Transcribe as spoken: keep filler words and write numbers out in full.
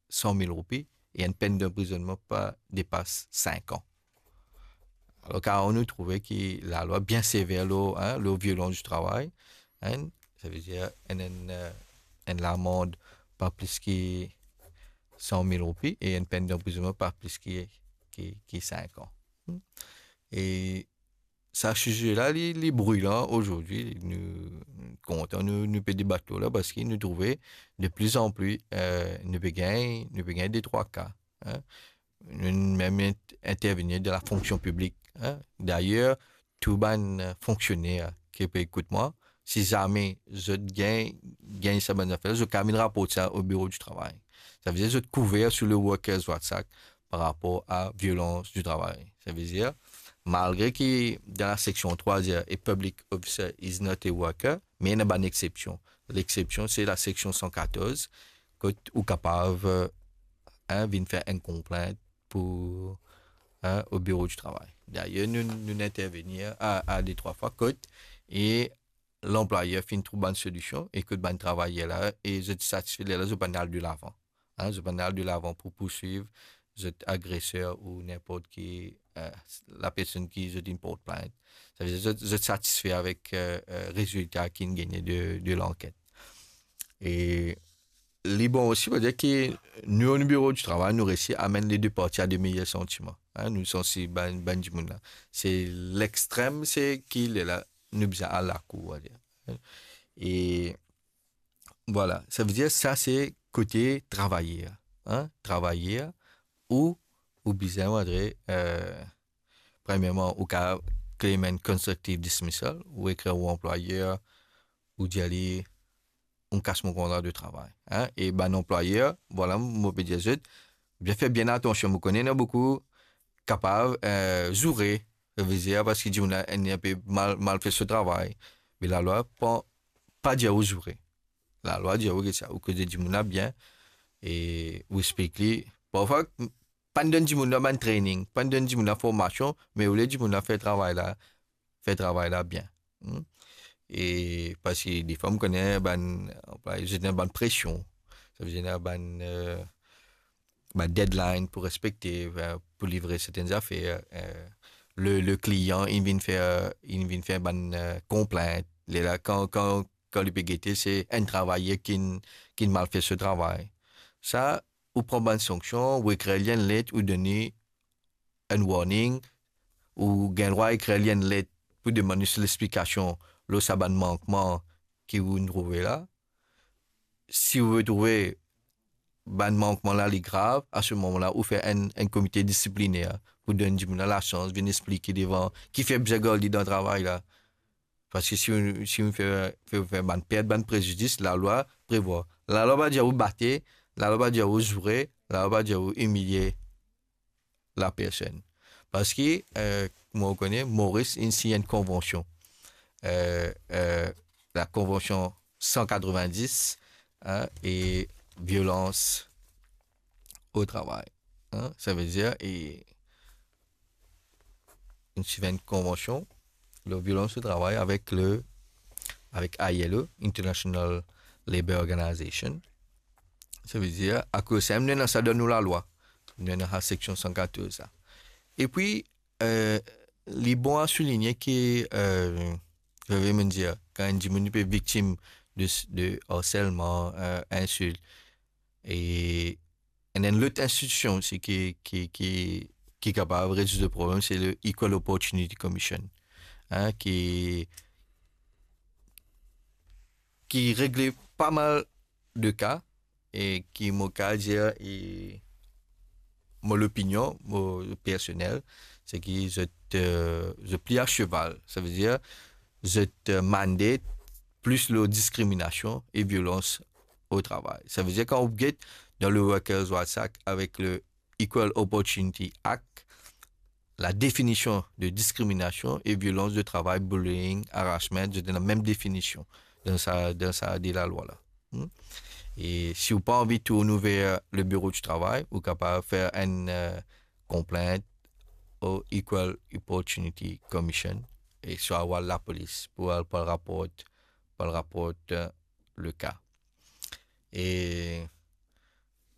san mil roupi e enn penn danprizonnman pa depas sink an. Alor, kan nou trouve ki lalwa bien sever lor, hein, lor violans di travay, hein, savedir enn, enn, euh, enn lamand pa plis ki san mil roupi e enn penn danprizonnman pa plis ki, ki, ki sink an. Hmm. E sa size la, li, li brilan azordi, nou kontan, nou, nou pe debat lor la, parski nou trouve de pli an pli, euh, nou pe gagn, nou pe gagn de trwa ka, hein. Nou mem int-, intervenir dan lafonksion piblik, hein. Dayer, tou bann, euh, fonksioner ki pe ekout mwa, si zame zot gagn, gagn sa bann zafer, zot kapav vinn raport sa o biro di travay. Savedir zot kouver sou le Workers' Rights Act par rapor a violans di travay. Savedir, malgre ki dan laseksion trwa dir a public officer is not a worker, me ena bann exception. Lexepsion, se laseksion san katorz, kot ou kapav, euh, hein, vinn fer enn konplint pou, hein, o biro di travay. Dayer, nou, nou intervenir a, a de trwa fwa kot, e lanplwayer finn trouv bann solision, e kot bann travayer la, e zot satisfe, lerla zot pa'nn al de lavan. Hein, zot pa'nn al de lavan pou pourswiv zot agreser ou ninport ki, euh, lapersonn ki zot inn port plint. Savedir zot, zot satisfe avek, euh, euh, rezilta ki inn gagne de, de lanket. E li bon osi, pou dir ki nou, o biro di travay, nou resi amenn le de parti a de meyer santiman. Hein, nou sansibiliz bann, bann dimoun la. Se lextrem, se ki lerla nou bizin al lakour, on va dire. E vwala, savedir sa se kote travayer, hein, travayer ou, ou bizin, on va dire, euh, premierman, ou kapav claim enn constructive dismissal, ou ekrir ou anplwayer, ou dir li, ou kas mo kontra de travay, hein, e bann anplwayer, vwala, mo pe dir zot, bien fer bien atansion, mo kone ena boukou kapav, euh, zoure, savedir, parski dimoun la inn enpe mal, mal fer so travay. Me lalwa pa, pa dir ou zoure. Lalwa dir ou get sa, ou koz dimoun la bien, e ou explik li. Parfwa, pa'nn donn dimoun la bann training, pa'nn donn dimoun la formasion, me ou le dimoun la fer travay la, fer travay la bien. Hmm? E parski defwa, mo kone bann, zot ena bann presion, savedir ena bann, euh, bann deadline pou respekte, euh, pou livre sertenn zafer, euh, le, le klian, inn vinn fer, inn vinn fer bann, euh, konplint. Lerla, kan, kan, kan li pe gete, se enn travayer ki'nn, ki'nn mal fer so travay. Sa, ou pran bann sanksion, ou ekrir li enn let, ou donn li enn warning, ou gagn drwa ekrir li enn let pou demann li so lexplikasion lor sa bann mankman ki ou'nn trouve la. Si ou retrouve bann mankman la li grav, a se moman la, ou fer enn, enn komite disipliner pou donn dimoun la lasans vinn explike devan kifer bizin gard li dan travay la. Parski si ou, si ou fer, fer, fer bann pert, bann prezidis, lalwa prevwar. Lalwa pa dir ou bate, lalwa pa dir ou zoure, lalwa pa dir ou imilie lapersonn. Parski, euh, mo kone, Moris inn sign enn konvansion. Euh, euh, lakonvansion san katrovin-dis, hein, e violans o travay. Hein, savedir, e inn sign enn konvansion lor violans o travay avek le, avek I L O, International Labour Organization. Savedir, akoz sa, nou ena sa dan nou lalwa. Nou ena sa seksion san katorz sa. Epi, euh, li bon a souligne ki, euh, zot inn dir, kan enn dimoun pe viktim de, de harselman, euh, insilt, e ena enn lot institision osi ki, ki, ki, ki kapav rezoud le problem, se le Equal Opportunity Commission, hein, ki, ki regle pa mal de ka, e ki mo kapav dir, e mo lopinion, mo personel, se ki zot, euh, zot pli a seval. Savedir, zot, euh, mandate plis lor diskriminasion e violans o travay. Savedir, kan ou get dan le Workers' Rights Act avek le Equal Opportunity Act, la definision de diskriminasion e violans de travay, bullying, harassment, zot ena mem definision dan sa, dan sa de lalwa la. Hmm? E si ou pa anvi tourn ou ver le biro di travay, ou kapav fer enn, euh, konplint o Equal Opportunity Commission, e swa ou al lapolis pou al, pou al raport, pou al raport, euh, le ka. E